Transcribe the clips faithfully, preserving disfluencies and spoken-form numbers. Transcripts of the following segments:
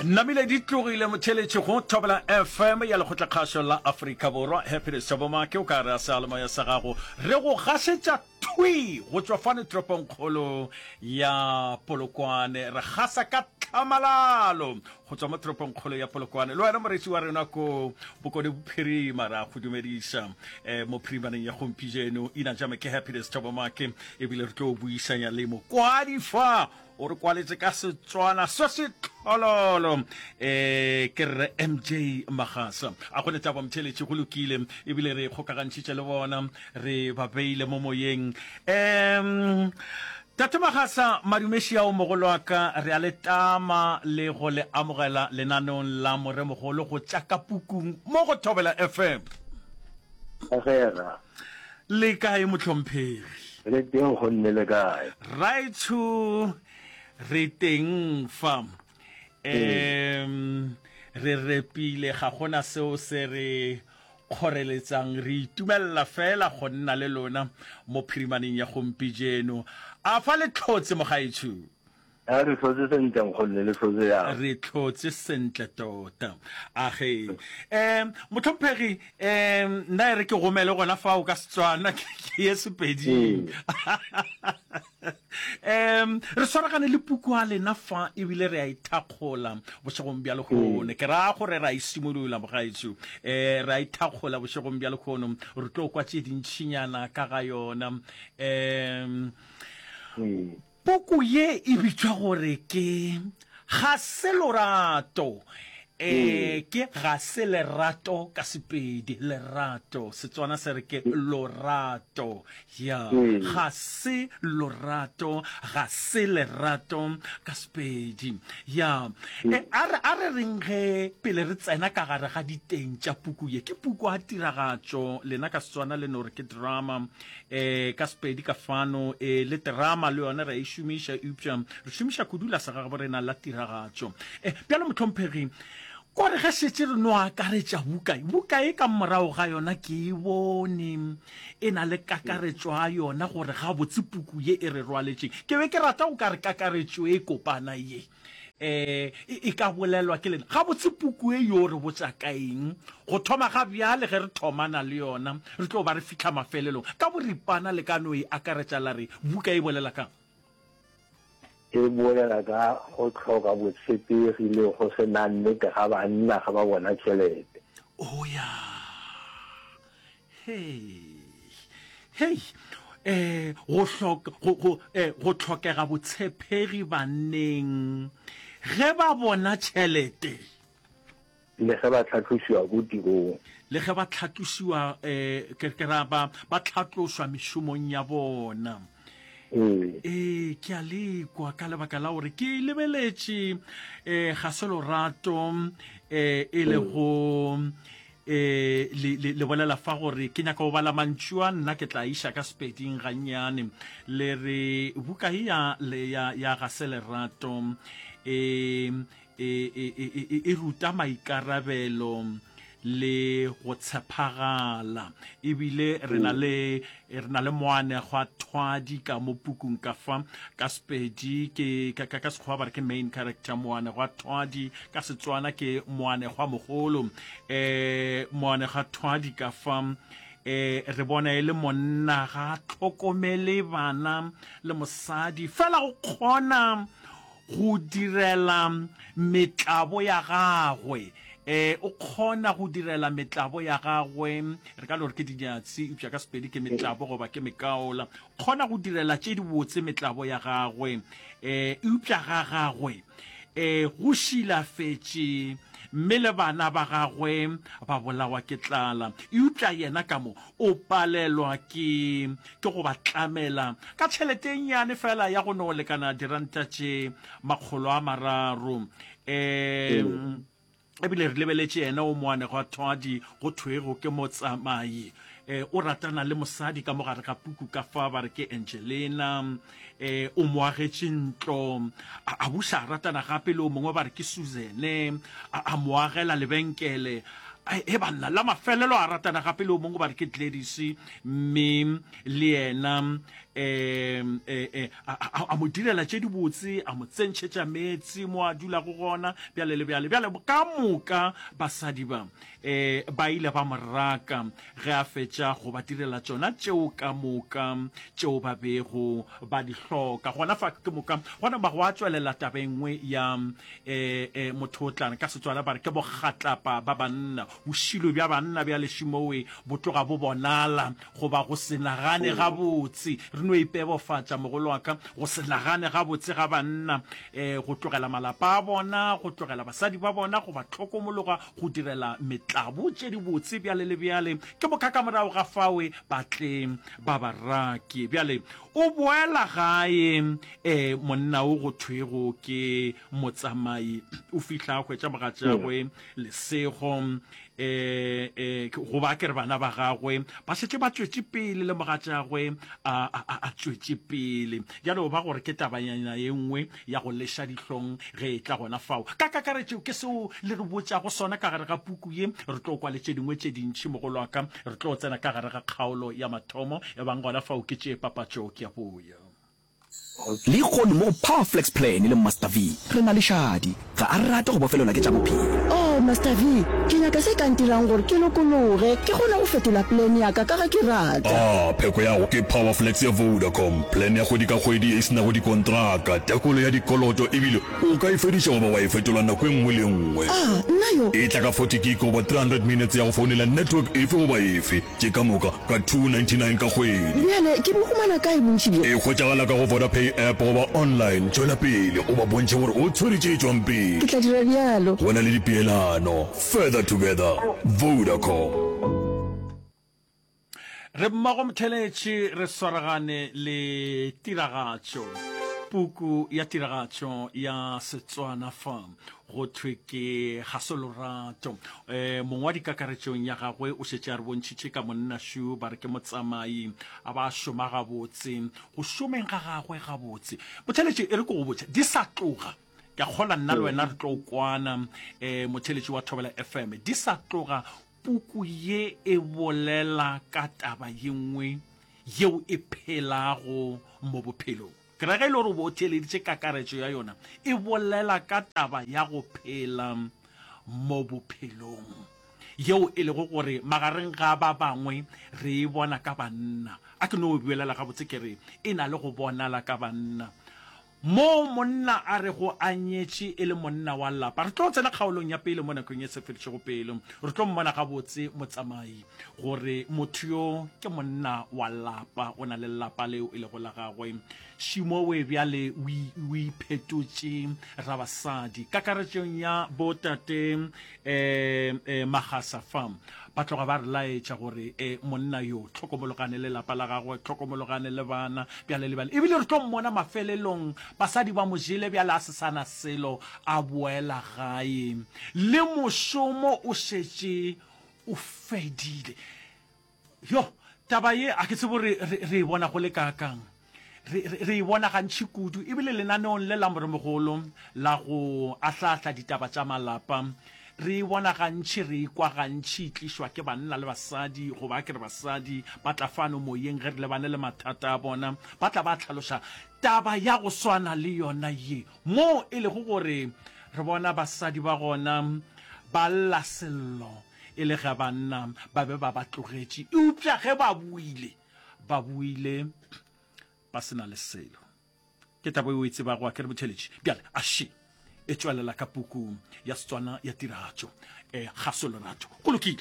Namile di tlogile motheletši go Thobela F M ya Lekgotlakgašo la Afrika Borwa. Happiness Thabomake o ka re a seyalemoya sa gago re go gašetša thwi go tšwa fane toropongkgolo ya Polokwane. Re gasa ka tlhamalalo go tšwa mo toropongkgolo ya Polokwane. Le wena moreetši wa rena ko Bokone Bophirima re a go dumediša um mo phirimaneng ya gompieno. Ina jame ke Happiness Thabomake ebile re tlo buisanya le mokwadi fa o re kwaletše ka Setswana se se tlhololo um ke rre M J Magasa. A go netaba motheletši, go lokile ebile re kgokagantšhitše le bona, re ba beile mo moyeng. um tate Magasa, madumeši ao mogolo wa ka, re a le tama le go le amogela lenaneong la Moremogolo go tša ka pukung mo go Thobela F M. Agera. Le kae, mohlomphegi? Le teng, gonne le kae? Raitsho, re teng fa um re repile, ga gona seo se re kgoreletsang, re itumelela fela go nna le lona mo phirimaneng ya gompijeno. A fa le tlhotse, mogaetsho? A re tlhotse sentle, gonne le tlhotse yang? Re tlhotse sentle tota. Age um motlhomphegi, um nna e re ke gomele gona fao ka Setswana ke ye Sepeding. um re swaragane le puku a lena fa ebile re a ithakgola bošegong bja lekgono. Ke raya gore re a isimolola, mogaetsho. um re a ithakgola bošegong bja lekgono, re tlo kwa tše dintšhinyana ka ga yona. um puku ye e bitšwa gore ke Ga se Lorato. um ke Ga se Lerato ka Sepedi, lerato Setswana se re ke lorato ya. Ga se Lorato, Ga se Lerato ka Sepedi ya. e a re a re reng ge pele re tsena ka gare ga diteng tša puku ye, ke puku a tiragatšo, lena ka Setswana le no re ke drama, um ka Sepedi ka fano e le drama le yona re a e šomiša, eupša re šomiša kudu la segagabo rena la tiragatšo. um bjalo mohlomphegi, kore ge šetše re no akaretša buka buka e ka morago ga yona, ke e bone e na le kakaretšo a yona gore gabotse puku ye e re rwaletšeng. Ke be ke rata go ka re kakaretšo e kopana ye um e ka bolelwa ke lena gabotse puku e yo re botša ka eng, go thoma ga bjale ge re thomana le yona re tlo ba re fitlha mafelelong. Ka boripana le ka no e akaretša la re buka e bolela kang? E bolela ka go tlhoka botshepegi le go se na nnete ga banna ga ba bona tšhelete. O ya, hei hei, eh go hloka go go eh go tlhokega botshepegi banneng ge ba bona tšhelete. Le ge ba tlhatlosiwa ko tirong. Le ge ba tlhatlosiwa, um ke ke ra ba ba tlhatlošwa mešomong ya bona. Ee. Ee, ke a lekwa ka lebaka la gore ke lebeletše um Ga se Lorato, um e lego um le, le, le bolela fa gore ke nyaka go bala mantšu a nna ke tla iša ka Sepeding gannyane. Le re buka e ya, le, ya, ya Ga se Lerato e e, e, e, e, e ruta maikarabelo le go tshepagala, ebile re na le re na le moanegwa thwadi ka mo pukung ka fa. Ka Sepedi ke ka, ka, ka Sekgowa ba re ke main character, moanegwa thwadi ka Setswana ke moanegwa mogolo. um moanegwa thwadi ka fa um re bona e le monna, ga a tlhokomele bana le mosadi, fela go kgona go direla metlabo ya gagwe. um o kgona go direla metlabo ya gagwe, re ka no re ke dinyatsi, eupša ka Sepedi ke metlabo goba ke mekaola. Kgona go direla tše dibotse metlabo ya gagwe, um eupša ga gagwe um go šilafetše, mme le bana ba gagwe ba bolawa ke tlala, eupša yena ka mo o palelwa ke ke go ba tlamela ka tšhelete e nnyane fela ya go no lekana diranta tše makgolo a mararo. um ebile re lebeletše yena o moanegwa thwadi go thwego ke motsamai, um o ratana le mosadi ka mogare ga puku ka fa, ba re ke Angelina, um o mo agetše ntlo. a a buša a ratana gape le o mongwe, ba re ke Suzane, a a mo agela lebenkele. E banna, la mafelelo a ratana gape le o mongwe ba re ke Gladys, mme le yena um a mo direla tše dibotse, a mo tsentšhetša meetse mo a dulago gona, bjale le bjale. Bjale ka moka basadi ba um ba ile ba mo raka ge a fetša go ba direla tšona tšeo ka moka tšeo ba bego ba di hloka. Gona fa ke moka gona ba go a tšwelela taba e nngwe ya um motho o tla ka Setswana ba re ke bogatlapa ba banna. Bošilo bja banna bja lešimowe bo tloga bo bonala goba go se nagane gabotse. Re no ipebofatša, mogolo wa ka, go se nagane gabotse ga banna, um go tlogela malapa a bona, go tlogela basadi ba bona, go ba hlokomologa, go direla metlabo tše dibotse bjale le bjale. Ke moka ka morago ga fawe ba tle ba ba rake. Bjale o boela gae, um monna o go thwego ke motsamai o fihla a hwetša mogatšagwe Lesego, um goba ke re bana ba gagwe ba šetše ba tšwetše pele le mogatšagwe a, a, a tšwetše pele. Bjale o ba gore ke tabanyana ye nngwe ya go leša dihlong ge e tla gona fao. Ka kakaretšo ke seo le re botšago sona ka gare ga puku ye. Re tlo kwa le tše dingwe tše dintši, mogolo wa ka. Re tlo tsena ka gare ga kgaolo ya mathomo. Ebang gona fao ke tšee papatšo, ke a boya. Lehono mo go Power Flex Plan le Master V re na le Shadi. Ga a rate go bofelelwa ke tša bophelo. Oh, Master V, ke nyaka se ka ntirang gore ke lokologe, ke kgone go fetola plan ya ka ka ge ke rata. Ah, pheko ya go ke Power Flex ya Vodacom, plan ya kgwedi ka kgwedi ye e se nago dikontraka, tekolo ya dikoloto ebile o ka e fediša goba wa e fetola nako e nngwe le e nngwe. Ah, nna yo! E tla ka forty gig goba three hundred minutes ya go founela network efe goba efe. Tše ka moka ka two ninety nine ka kgwedi. Bjale ke bo humana kae bontši bjo? E hwetšagala ka go Vodapay app goba online. Tšwela pele o ba bontšhe gore o tshwere tše tšwang pele. Ke tla dira bjalo. Go na le dipeelano. Further together. Vodacom. Re mmogo motheletši re swaragane le tiragatšo, puku ya tiragatšo ya Setswana fa Go thwe ke ga se lorato. E, mongwadi kakaretšong ya gagwe o šetše a re bontšhitše ka monna šo, ba re ke motsamai, a ba a šoma gabotse. Go šomeng ga gagwe gabotse. Motheletši, e re ke go botše, di sa tloga, ke a kgolwa nna le wena re tlo kwana, e, motheletši wa Thobela F M, di sa tloga puku ye e bolela ka taba ye nngwe yeo e phelago mo bophelong. Ke ra ge e le gore o bo o theeleditše kakaretšo ya yona, e bolela ka taba ya go phela mo bophelong, yeo e lego gore magareng ga ba bangwe re e bona ka banna. A ke no e bolela gabotse ke re e na le go bonala ka banna. Moo monna a rego a nyetše e le monna wa lapa. Re tlo tsena kgaolong ya pele mo nakong e sa fedišego pelo. Re tlo mmona gabotse motsamai gore motho yo ke monna wa lapa, o na le lapa leo e lego la gagwe. Šimowe bjale o iphetotše rabasadi. Kakaretšong ya botate um um Magasa fa ba tloga ba re laetša gore um monna yo tlhokomologane le lapa la gagwe, tlhokomologane le bana, bjale le bjale. Ebile re tlo mmona mafelelong basadi ba mo jele bjale a se sa na selo, a boela gae le mošomo o šetše o fedile. Yo, taba ye a ke tsebe gore re, re e bona go le kaakang. Re, re, re e bona gantši kudu, ebile lenaneong le la Moremogolo la go ahlaahla ditaba tša malapa, re e bona gantši, re e kwa gantši e tlišwa ke banna le basadi, goba a ke re basadi ba tla fano moyeng ge re lebane le mathata a bona, ba tla ba hlaloša taba ya go swana le yona ye, moo e lego gore re bona basadi ba gona ba lla sello e le ge banna ba be ba ba tlogetše, eupša ge ba boile, ba boile ba se na le selo. Ke taba yeo o e tsebago, a ke re motheeletši? Bjale, a še e tšwelela ka puku ya Setswana ya tiragatšo, eh, Ga se Lerato. Go lokile.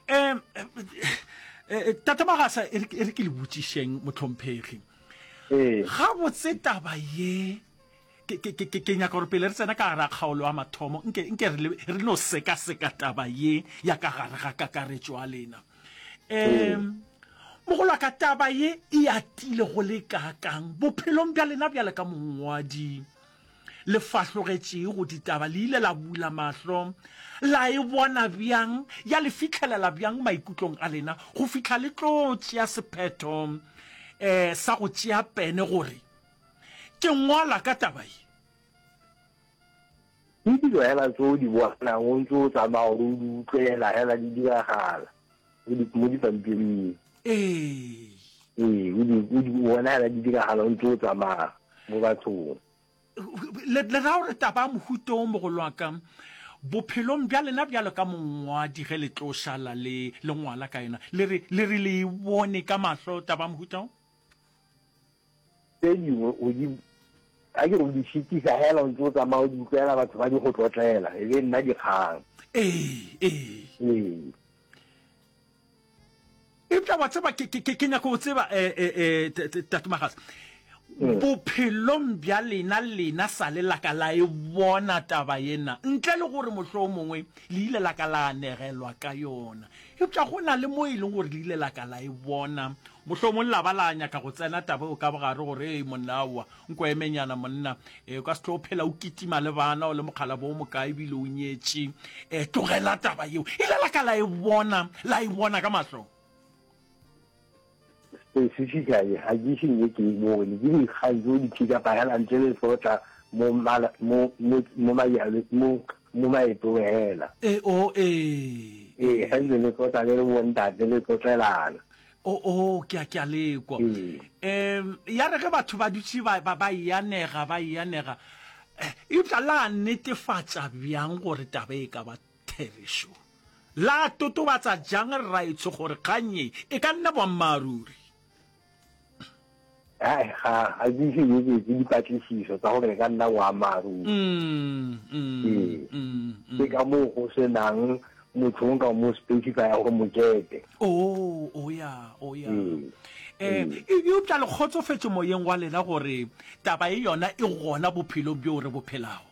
Eh, eh, Tate Magasa, e re ke le botšišeng, mohlomphegi. Ee. Gabotse taba ye, ke, ke, ke, ke nyaka gore pele re tsena ka gare ga kgaolo ya mathomo, nke, nke re, re no sekaseka taba ye ya ka gare ga kakaretšo ya lena. Um, mogolo wa ka, taba ye e atile go le kaakang bophelong bja lena bjale ka mongwadi le fahlogetšego ditaba? Le ile la bula mahlo la e bona bjang, ya le fihlelela bjang maikutlong a lena go fihla le tlo tšea sephetho um sa go tšea pene gore ke ngwala ka taba ye? Ke dilo hela tse o di bonang o ntse o tsamaya gore o di utlwela hela di diragala o di mo dipampiring. Ee. Ee, o di o di bona hela di diragala o ntse o tsamaya mo bathong. Le le ra gore taba ya mohuta o mogolo wa ka bophelong bja lena bjalo ka mongwadi ge le tlo šala le le ngwala ka yona le re le re le e bone ka mahlo taba ya mohuta o? Tse dingwe o di a ke re o di šitiša hela o ntse o tsamaya o di utlwela batho ba di go tlotlela e be nna dikgang. Ee, ee. Ee. Eupša wa tseba, ke, ke, ke, ke nyaka go tseba, eh, eh, eh, Tate Magasa, mm. bophelong bja lena, lena sa le laka la e bona taba yena, ntle le gore mohlomongwe le ile la ka la anegelwa ka yona. Eupša go na le mo e leng gore le ile la ka la e bona, mohlomong la ba la nyaka go tsena taba eo ka bogare gore, Ei, monna, aowa, nko emenyana, monna, e, o ka se tlo phela o kitima le bana, o le mokgalabo o mokae ebile o nyetše. E, tlogela taba yeo. Ile la ka la e bona, la e bona ka mahlo. Specifically, ga ke ise nke ke e bone. Ke dikgang tse o di pick-upa hela ntse le tlotla mo mala, mo, mo, mo majalweng, mo, mo maetong hela. E, o, ee. Ee, ge ntse le tlotla le le bontate le tlotlelana. O, o, ke a, ke a le kwa. Ee. Um, ya re ge batho ba dutše ba, ba, ba e anega, ba e anega, eh, eupša la netefatša bjang gore taba e ka ba therešo? La totobatsa jang rraetsho gore kgang ye e ka nna boammaaruri? Hai, ga, ga ke ise ke ke etse dipatlisiso tsa gore e ka nna boammaaruri. Mm, mm, Ee. mm, mm. Ke ka moo go se nang motho o nka mo specify gore mokete. Oh, oh ya, oh ya. Ee. Eh, Ee. e- eupša le kgotsofetše moyeng wa lena gore taba e yona e gona bophelong bjo re bo phelago.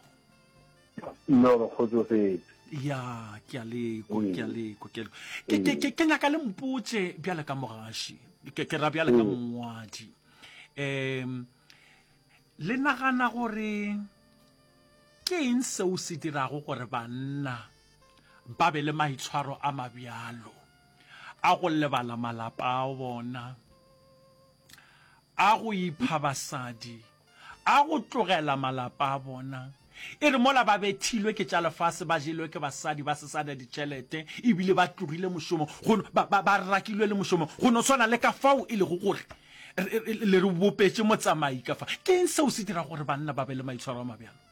No, re kgotsofetse. Ya, ke a lekwa, ke a Ee. lekwa, ke a lekwa. Ke, ke, Ee. ke, ke nyaka le mpotše bjale ka mogaši, ke, ke ra bjale ka Ee. mongwadi. Um, le nagana gore ke eng seo se dirago gore banna ba be le maitshwaro a mabjalo a go lebala malapa a bona, a go ipha basadi, a go tlogela malapa a bona, e re mola ba bethilwe ke tša lefase, ba jelwe ke basadi, ba se sa na ditšhelete, ebile ba tlogile mošomo, go, ba, ba, ba rakilwe le mošomo, go no swana le ka fao e lego gore le re bopetše motsamai ka fa. Ke eng seo se dirago gore banna ba be le maitshwaro a mabjalo?